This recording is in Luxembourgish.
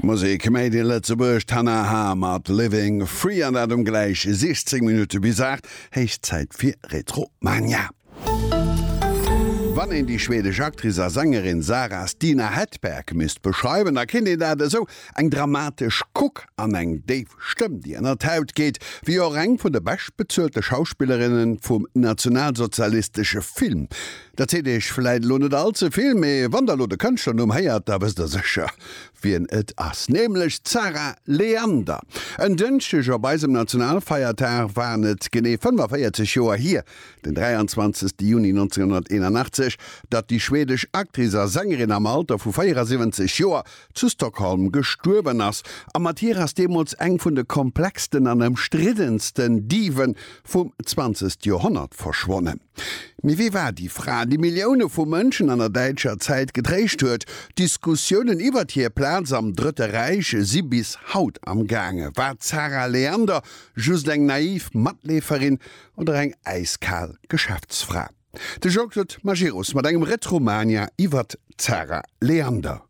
Musek made in Lëtzebuerg, d'Hannah H. mat Living Free an dat um gläich 16 Minutte bis 8. Héich Zäit fir Retromania. Wann een déi schwedesch Actrice a Sängerin Sara Stina Hedberg misst beschreiwen, da kéint een dat esou, Eng dramatesch Kuck an eng déif Stëmm, déi ënner d'Haut geet, wéi och eng vun de beschtbezuelte Schauspillerinne vum nationalsozialistesche Film. Dat seet iech vläit elo net all ze vill, mee wann der elo de Kënschtlernumm héiert, da wësst der sécher, wien et ass, nämlech d'Zara Leander. En Dënschdeg op eisem Nationalfeiertag waren et genee 45 Joer hier, Den 23 Juni 1981, datt déi schwedesch Actrice a Sängerin am Alter vu 74 Joer zu Stockholm gestuerwen ass. A mat hir ass deemools eng vun de komplexsten an ëmstriddensten Dive vum 20. Joerhonnert verschwonnen. Mee wie war déi Fra, déi Millioune vu Mënschen an der däitscher Zäit getréischt huet? D'Diskussiounen iwwert hir Plaz am Drëtte Räich si bis haut am gaange. War d'Zara Leander just eng naiv Matleeferin Oder eng äiskal Geschäftsfra. De Jean-Claude Majerus mat engem Retromania iwwert d'Zara Leander.